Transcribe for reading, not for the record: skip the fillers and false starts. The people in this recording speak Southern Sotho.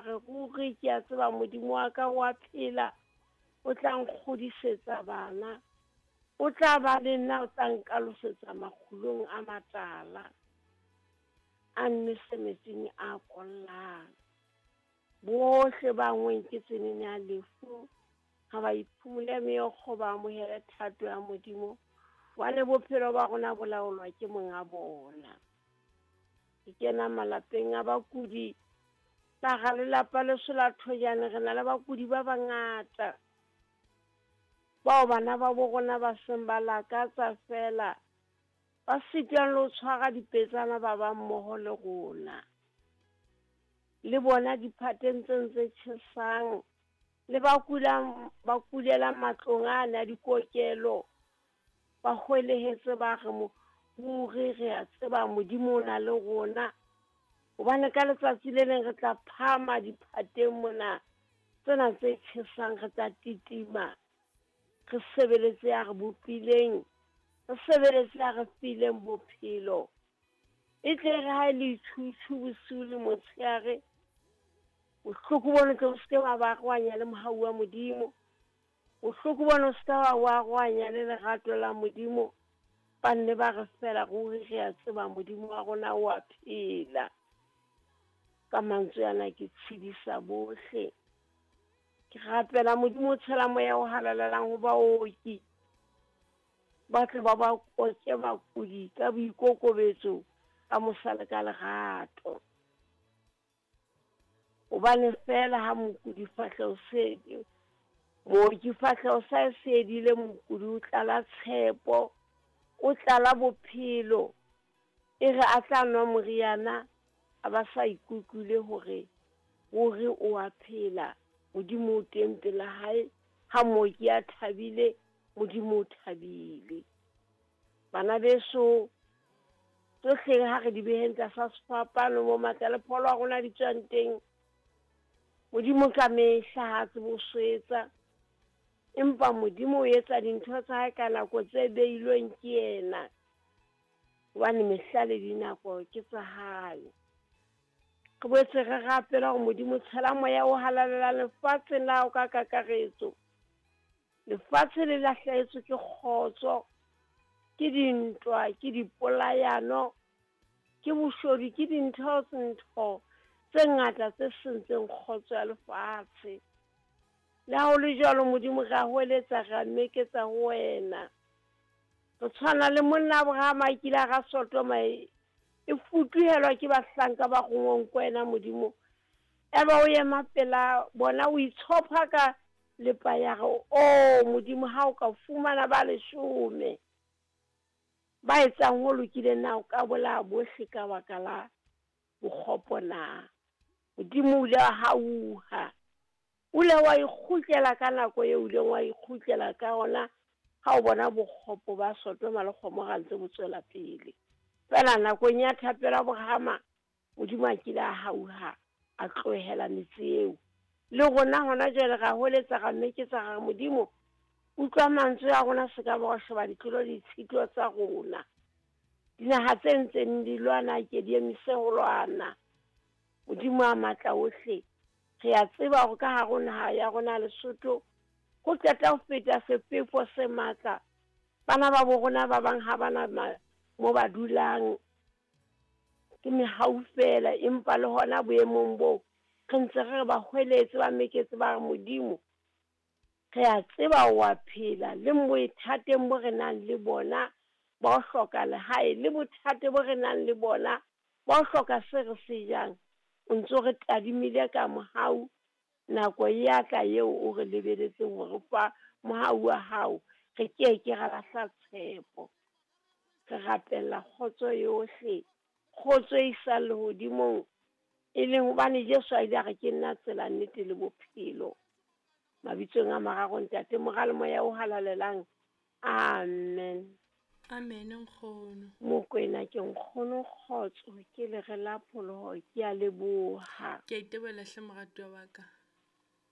re, ruri ke a tseba Modimo wa ka o a phela, o tla nkgodisetsa bana, o tla ba le nna, o tla nkalosetsa makgulong a matala, a nnwese metsing a kollang. Bohle ba ngweng ke tsenene ya lefu, ha ba iphumole meokgo, ba amohele thato ya Modimo, hobane bophelo ba rona bo laolwa ke monga bona. Ke kena malapeng a bakudi, ka hara lelapa leso la Thojane, re na le bakudi ba bangata, bao bana ba bo rona ba seng ba lakatsa fela, ba sitwang le ho tshwara dipetsana ba ba mmoho le rona. Le bona diphateng tse ntse tjhesang, le ba kulang, ba kulelang matlong ana a dikokelo, ba hwelehetse ba re ruri re a tseba Modimo o na le rona, hobane ka letsatsi le leng re tla phahama diphateng mona tsena tse tjhesang, re tla titima, re sebeletse ya re bopileng, re sebeletse ya re fileng bophelo. E tle re ha e le itjhutjhu bosiu le motshehare, bohloko bona tle o se ke wa ba arohanya le mohau wa Modimo, bohloko bona o se ka wa arohanya le lerato la Modimo. Ba nne ba re fela ruri re a tseba Modimo wa rona o a phela. Ka mantswe ana ke tshedisa bohle. Ke rapela Modimo o tshela moya o halalelang ho baoki, ba tle ba ba koke bakudi ka boikokobetso, ka mosa le ka lerato. Hobane fela ha mokudi fahleho se mooki fahleho sa e sedile, mokudi o tlala tshepo, o tlala bophelo. E re a tla nwa moriana, a ba sa ikutlwile hore ruri o a phela, Modimo o teng pela hae. Ha mooki a thabile, Modimo o thabile. Bana beso, tsohle ha re di beheng tlasa sefapano mo matla le pholo a rona di tswang teng. Modimo ka mehla ha tsebe ho swetsa, empa Modimo o etsa dintho tsa hae ka nako tse beilweng ke yena, hobane mehla le dinako ke tsa hae. Re boetse re rapela hore Modimo tshela moya o halalelang lefatsheng la hao ka kakaretso. Lefatshe le lahlehetswe ke kgotso, ke dintwa, ke dipolayano, ke boshodu, ke dintho ntho tse ngata tse sentseng kgotso ya lefatshe. Le ha ho le jwalo, Modimo re a hweletsa, re a meketsa ho wena. Re tshwana le monna Abraham a kile a ra Sodoma e futuhelwa ke bahlanka ba rongweng ke wena Modimo. Eba o ema pela bona, o itshopha ka lepa ya re, o Modimo, ha o ka fumana ba leshome ba etsang ho lokileng, na o ka bolaya bohle ka baka la bokgopo na? Modimo o ile wa hauha, o ile wa ikgutlela ka nako eo o ileng wa ikgutlela ka ona, ha o bona bokgopo ba Sodoma le Gomora ntse bo tswela pele. Fela nakong ya thapelo Abrahama, Modimo a kile a hauha, a tlohela metse eo. Le rona hona jwale ra hweletsa, ra meketsa, ra re, Modimo, utlwa mantswe a rona, se ka ba wa sheba ditlolo le ditshito tsa rona. Dinaha tse ntseng di lwana ke di emise ho lwana. Modimo a matla ohle, re a tseba hore ka hare ho naha ya rona Lesotho ho qeta ho feta sefefo se matla. Bana ba bo rona ba bang ha bana mo ba dulang, ke mehau fela, empa le hona boemong boo re ntse re ba hweletse, ba meketse, ba re Modimo, re a tseba o a phela, le bothateng bo re nang le bona ba ho hloka lehae, le bothata bo re nang le bona ba ho hloka se re se jang, o ntso re tadimile ka mohau. Nako ya tla eo o re lebeletseng hore fa mohau wa hao, re ke ke ra lahla tshepo. Re rapella kgotso yohle, kgotso e isang lehodimong, e leng hobane Jesu a ile a re ke nna tsela, nnete le bophelo. Mabitsong a mararo, Ntate, Mora le Moya o halalelang. Amen. Amen, nkgono. Mokwena ke nkgono kgotso, ke lere la pholoho, ke a leboha. Ke a itebohela hle moratuwa wa ka.